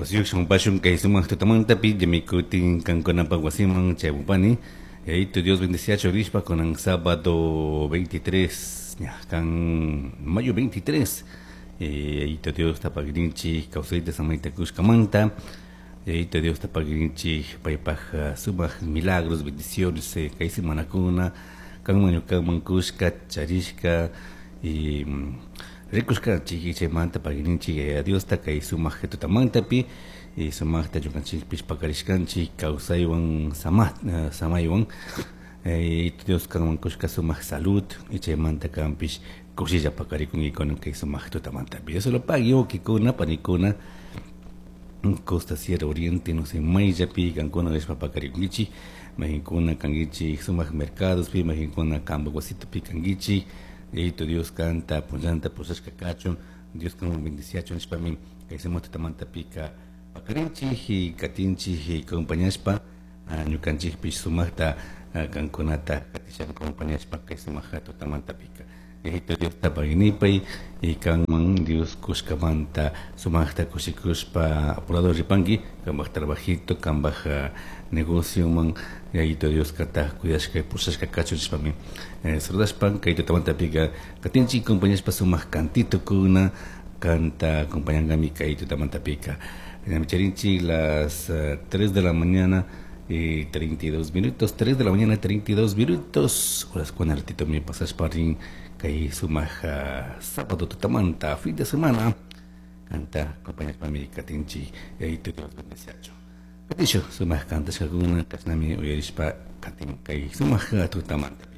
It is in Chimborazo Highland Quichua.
Wasiyuq shamunpashun kay sumaq tutamantapi llami kutin kankunapaq wasiman chaymupani. Yayitu Dios bendeciachu rishpa kunan sábado 23 ña kan mayo 23 Yayitu Dios tapagrinchik kawsayta samayta kushkamanta. Yayitu Dios tapagrinchik paypaq sumaq milagros bendiciones kay semanakuna kanman ñukaman kushka charishka y rikushkanchik chaymanta pagrinchik Yaya Diosta kay sumaq tutamantapi y sumaqta ñukanchikpish pakarishkanchik kawsaywan sama samaywan Yayitu Dios kanman kushka sumaq salud y chaymanta kanpish kushilla pakarikunki kunan kay sumaq tutamantapi. Dios lo pague wawkikuna panikuna Costa Sierra Oriente no sé mayllapi kankuna rishpa pakarikunkichik mayqinkuna kankichik sumaq mercadospi mayqinkuna kampak wasitupi kankichik Yayitu Dios kanta punllanta pushashka kachun Dios kanwan bendiciachun nishpami kay sumaq tutamantapika pakarinchik y katinchik y acompañashpa ñukanchikpish sumaqta kankunata katishan acompañashpa kay sumaq tutamantapika Yayitu Diosta paginipay y kanman Dios kushkamanta sumaqta kushikushpa apurado ripanki kambaj trabajito kambaj negocioman Yayitu Dios kata cuidashka pushashka kachun nishpami saludashpa kay tutamantapika katinchik acompañashpa sumaq cantitokuna kanta acompañankami kay tutamantapika. Ñami charinchik las 3 de la mañana y 32 minutos, 3 de la mañana 32 minutos, horas con ratito mi pasashpa rin kay sumaq sábado tutamanta fin de semana kanta acompañashpa mi katinchik Yayitu Dios bendeciachu. Katishu sumaq kantashkakuna kashnami uyarishpa katin kay sumaq tutamanta.